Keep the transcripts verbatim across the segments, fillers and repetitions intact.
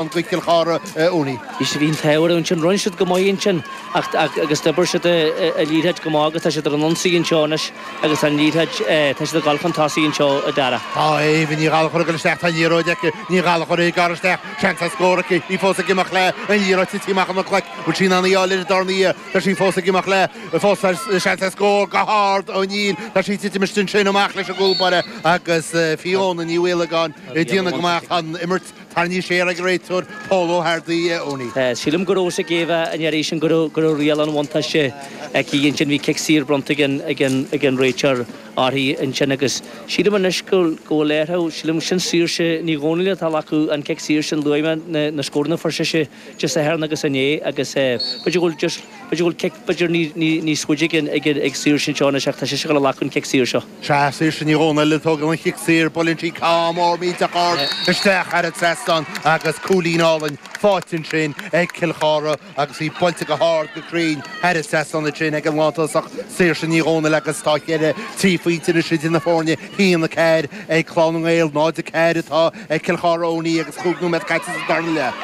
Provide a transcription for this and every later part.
Do Chill Chartha, Owenie. Bhí siad, bhí an t-ádh orthu ansin, rinne siad go maith ansin ach agus d'oibir siad an liathróid go maith agus tá siad ar an ionsaí anseo anois agus tá an liathróid, tá siad ag dul chun tosaigh anseo, a Dara. Tá Éabha Ní Ghallchóir ag dul isteach, tá an liathróid aici, Ní Ghallchóir ag gearradh isteach, seans ar scór aici, í fós ag imeacht léi, an liathróid tite amach óna glaic, bhfuil sí in ann í a fháil ar an darna iarraidh, tá sí fós ag imeacht léi, fós seans ar scór go hard ó níl, tá sí ag titim istigh ansin amach leis an gcúl báire agus Fiona Ní Mhaolagáin ag déanamh go maith, tá an imirt Tarraingthe siar ag an réiteoir Pól Ó hArdaí, Owenie. Sílim go raibh a fhios ag Éabha an iarraidh sin go raibh go raibh riail an bhuntáiste aici ansin. Bhí cic saor bronnta ag an ag an ag an réiteoir uirthi ansin agus sílim anois go go bhfuil uirthi, sílim sin Saoirse Ní Dhomhnaill atá ag glacadh an cic saor sin luaigh mé na na scóranna a fuair sise Dé Sathairn agus inné agus b'fhéidir go bhfuil just b'fhéidir go bhfuil cic b'fhéidir ní ní níos faide ag an ag an ag Saoirse anseo anois ach tá sise ag dul a ghlacadh an cic saor seo. Sea, Saoirse Ní Dhomhnaill ag tógáil an chic saor, buaileann sí ceann mór millteach ard isteach thar an trasnán agus cúilín álainn faighte ansin ag Cill Chartha agus í buailte go hard go cruinn thar an trasnán ansin ag an lántosach Saoirse Ní Dhomhnaill agus tá ceithre trí phointe anois idir na foirne, a haon a ceathair ag Clann na nGael, náid a ceathair atá ag Cill Chartha Owenie agus cúig nóiméad caite sa darna leath.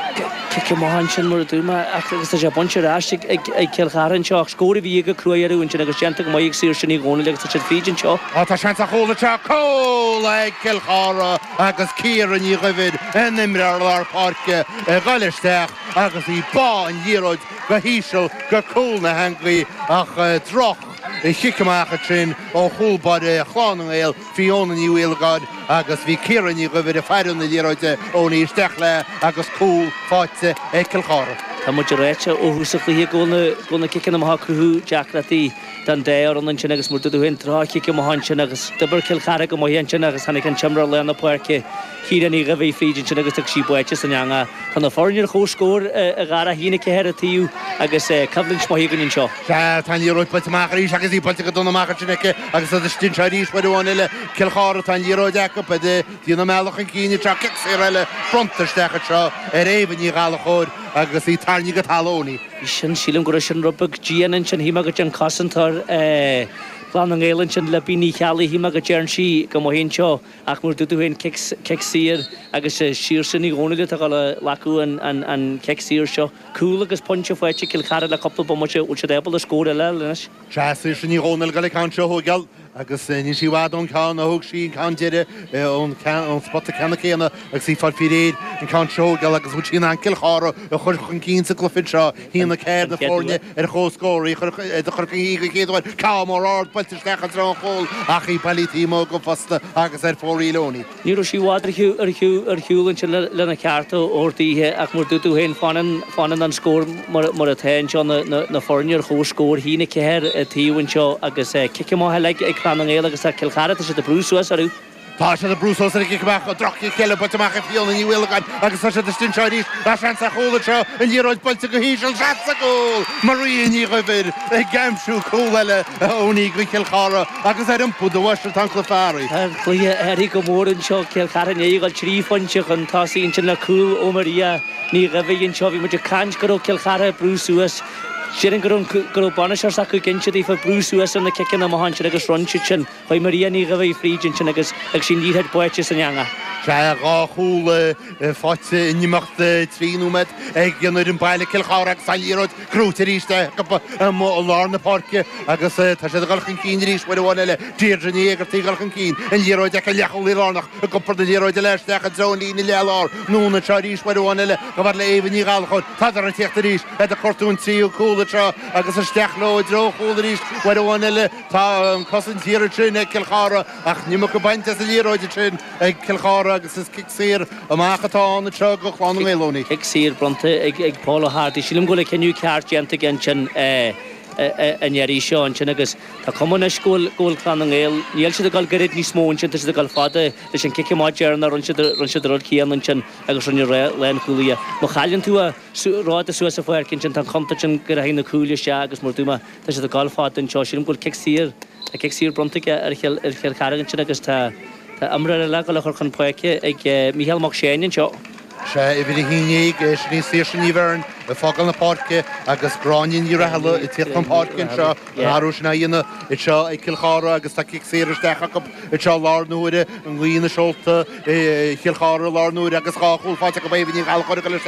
Cic amach ansin mar a dúirt mé ach agus tá sé bainte ar ais ag Cill Chartha anseo ach scór a bhí ag cruaidh orthu ansin agus déanta go maith ag Saoirse Ní Dhomhnaill agus tá siad fríd anseo. Á tá seans ar chúl anseo, cúl ag Cill Chartha agus Ciara Ní Dhuibhir, an imreoir lár páirce, ag dul isteach agus í ag bá an liathróid go híseal go cúl na heangaí ach droch chic amach ansin ó chúl báire Chlann na nGael, Fiona Ní Mhaolagáin agus bhí Ciara Ní Dhuibhir ag faire na liathróide Owenie isteach léi agus cúl faighte ag Cill Chartha. Tá muid ag ráit ó thús an chluiche go bhfuil na ciceanna amach ag cruthú deacrachtaí don dá fhoireann ansin agus mar a dúirt tú féin droch-chic amach ansin agus d'oibir Cill Chartha go maith ansin agus tháinig an t-imreoir lár na páirce Ciara Ní Dhuibhir fríd ansin agus tá sí báite san eangach. Tá na foirne ar comhscór a Dhara, a haon a ceathair an taobh agus coimhlint mhaith againn anseo. Sea, tá an liathróid buailte amach arís agus í buailte go dona amach ansin aici agus iad istigh anseo arís uair amháin eile. Cill Chartha, tá an liathróid acu, ag déanamh a mbealach chun cinn anseo, cic saor eile bronnta isteach anseo ar Éabha Ní Ghallchóir agus í tarraingthe go talamh Owenie. Sin, sílim go raibh sin rud beag dian ansin, shíl mé go dtéann cosantóir Chlann na nGael ansin, Libby Ní Cheallaigh, shíl mé go dtéarn sí go maith anseo ach mar a dúirt tú féin, cic saor agus Saoirse Ní Dhomhnaill atá ag dul a ghlacadh an chic saor seo. Cúl agus pointe faighte ag Cill Chartha le cúpla bomaite, bhfuil siad ábalta scór eile a fháil anois? Sea, Saoirse Ní Dhomhnaill ag dul an ceann seo a thógáil agus níl sí i bhfad ón ceann a thóg sí an ceann deiridh ón spota ceannann céanna agus í ag fáil faoi réir an ceann seo a thógáil agus bhfuil sí in ann Cill Chartha a chur chun cinn sa gcluiche seo. A haon a ceathair na foirne ar chomhscór, í a chur chun cinn den chéad uair. Ceann mór ard buailte isteach i dtreo an chúil ach í bailithe taobh amuigh go fosta agus ar fóraoil Owenie. Ní raibh sí i bhfad ar ar shiúl ansin lena ceart a thabhairt daoithe ach mar dúirt tú féin, fanann fanann an scór mar atá anseo, na foirne ar chomhscór, a haon a ceathair an taobh anseo agus cic amach eile ag Clann na nGael agus tá Cill Chartha, tá siad ag brú suas orthu. Tá siad ag brú suas ar an gcic amach, droch-chic eile buailte amach ag Fiona Ní Mhaolagáin agus tá siad istigh anseo arís. Tá seans ar chúl anseo, an liathróid buailte go híseal, seans ar chúl! Maria Ní Dhuibhir ag aimsiú cúl eile a Owenie do Chill Chartha agus ar iompú do bhois atá an cluiche athraithe. Tá an cluiche athraithe go mór anseo, Cill Chartha i ndiaidh a dhul trí phointe chun tosaigh ansin le cúl ó Maria Ní Dhuibhir anseo. Bhí muid ag caint go raibh Cill Chartha ag brú suas. Déarfainn go raibh go raibh bainisteoir s'acu ag inse daofa brú suas ar na ciceanna amach ansin agus rinne siad sin. Chuaigh Maria Ní Dhuibhir fríd ansin agus agus í an liathróid báite san eangach. Sea, dhá chúl faighte in imeacht trí nóiméad ag an fhoireann baile Cill Chartha agus tá an liathróid gnóite arís acu amuigh i lár na páirce agus tá siad ag dul chun cinn arís uair amháin eile. Deirdre Ní Éigeartaigh ag dul chun cinn, an liathróid aici, leathchúlaí lárnach ag iompar na liathróide eile isteach i dtreo an líne leath-lár. Anonn anseo arís uair amháin eile chomh fada le Éabha Ní Ghallchóir. Tádar ag tíocht arís, iad ag cuartú an tríú cúl anseo agus isteach leo i dtreo an chúil arís uair amháin eile. Tá an cosaint thiar ansin ag Cill Chartha ach an iomarca bainte as an liathróid ansin ag Cill Chartha agus is cic saor amach atá ann anseo do Chlann na nGael, Owenie. Cic saor bronnta ag Paul Ó hArdaigh. Sílim go bhfuil an cinneadh ceart déanta aige ansin an iarraidh seo ansin agus tá cuma anois go bhfuil go bhfuil Clann na nGael, níl siad ag dul gairid níos mó ansin, tá siad ag dul fada leis an cic amach deireanach, rinne siad rinne siad an rud céanna ansin agus rinne lánchúlaí dhe. Má chailleann tú a róda suas sa pháirc ansin tá an chontúirt ann go rachaidh na cúil isteach agus mar a dúirt mé Tá siad ag dul fada anseo. Sílim go bhfuil cic saor, tá cic saor bronnta aige ar Chill, ar Chill Chartha ansin agus tá, tá imreoir eile ag dul a chur chun páirce ag Mícheál Mac Seáin anseo. Sé uimhir a haon déag, sin í Saoirse Ní Bheirn, ag fágáil na páirce agus Gráinne Ní Rathaille ag tíocht chun páirce anseo, an athrú sin á dhéanamh anseo ag Cill Chartha agus tá cic saor isteach acu anseo i láthair na huaire, an ghaoth ina seolta Chill Chartha i láthair na huaire agus dhá chúl faighte acu Éabha Ní Ghallchóir ag dul isteach.